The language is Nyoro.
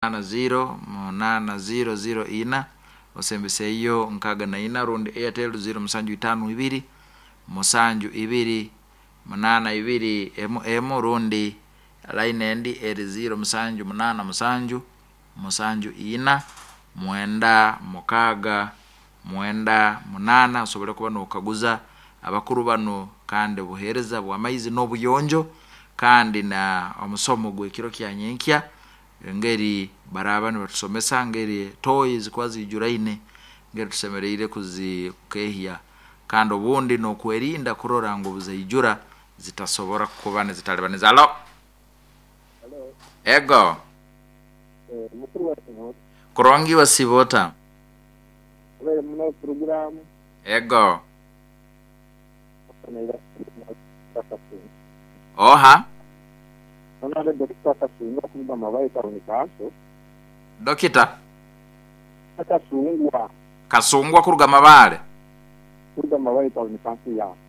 0 8 0 0 4 osembeseeyo 64 rundi Airtel 0 7 5 2 7 2 8 2 1 1 rundi line endi eri 0 7 8 7 7 4 9 6 9 8 osobole kuba nokaguza abakuru banu kandi obuheereza bw'amaizi n'obuyonjo kandi na omusomo gw'ekiro kya nyenkya engeri baraaba nibatusomesa ngeri toyi zikuba ziijuraine, ngeri tusemeriire kuzikehya kandi obundi n'okwerinda kurora ngu obuzaijura zitasobora kuba nizitalibaniza. Halo? Halo. Ego. Mukuru wa Sibota. Kurungi wa Sibota. Abaire muno puroguramu. Ego. Oha? Onade Dokita Kasungwa okuruga Mabayi Town Council. Dokita? Kasungwa. Kasungwa kuruga Mabale? Kuruga Mabayi Town Council ya.